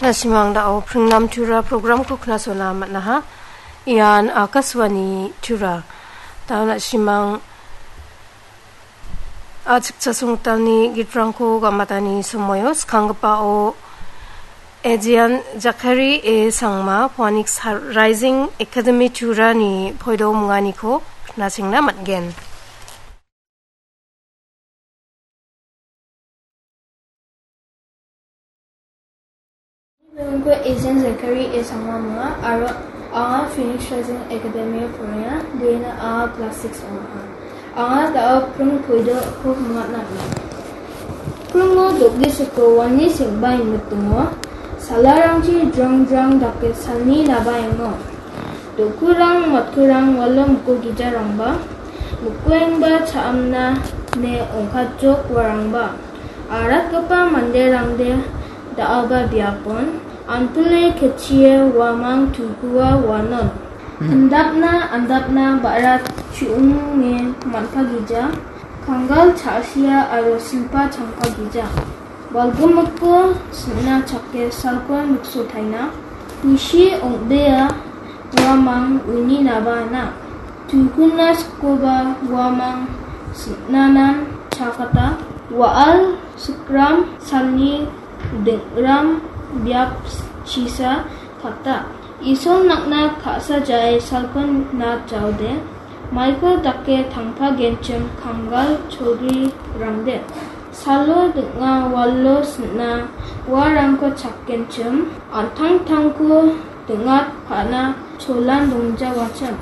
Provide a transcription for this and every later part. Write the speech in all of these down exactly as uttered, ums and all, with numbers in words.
Na·simang da·o Pringnam Tura programko knasona man·aha. Ian Akashvani Tura. Da·o na·simang a·chikchasongtalni gitrangko gamatani somoio, skanggipao Ejian Jakari A Sangma, Phoenix Rising Academy Turani poido munganiko knachengna man·gen. Bimingko Ejian Jakari A Sangma ong·a, aro anga Phoenix Rising Academy-o porenga, uina anga class six ong·a. Anga da·o pring poidoko mingna man·a. Pringo do·gisiko wani seng·bae mitingo, salarangchi jrongjrong dake salni nabaengo. Do·kurang matkurang walo miko gijarangba, mikoengba cha·amna ne ong·katjok uarangba. Aratgipa manderangde da·alba biapon, anpile ketchie uamang tuikua uanon. Hmm. Andapna, andapna ba·ra chu·onge man·pagija, kanggal cha·sia aro silpa changpagija. Balgimiko sin·na chake salko miksotaina, kusi ong·bea uamang uininaba na. Tuikuna sikkoba uamang sin·nanan chakata, wa·al sikram salni ding·ram biap chisa kata. Isol nakna ka·sajae salko na jaode, maiko dake tangpagenchim kanggal cholgrirangde. Salo ding·a walo sin·a uarangko chakgenchim, an·tangtangko ding·atpana cholan dongjawachim.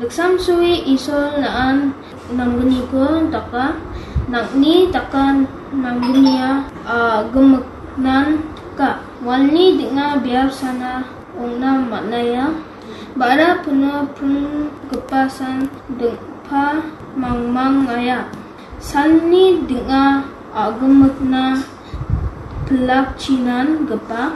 Liksamsoe Isol na·an nanggniko daka, nang·ni daka nanggnio a·gimiknan ka. Walni ding·a biapsana ong·na man·aia. Ba·ra pino pringgipasan ding·pa mangmangaia. Salni ding·a a·gimikna pilakchinan gipa.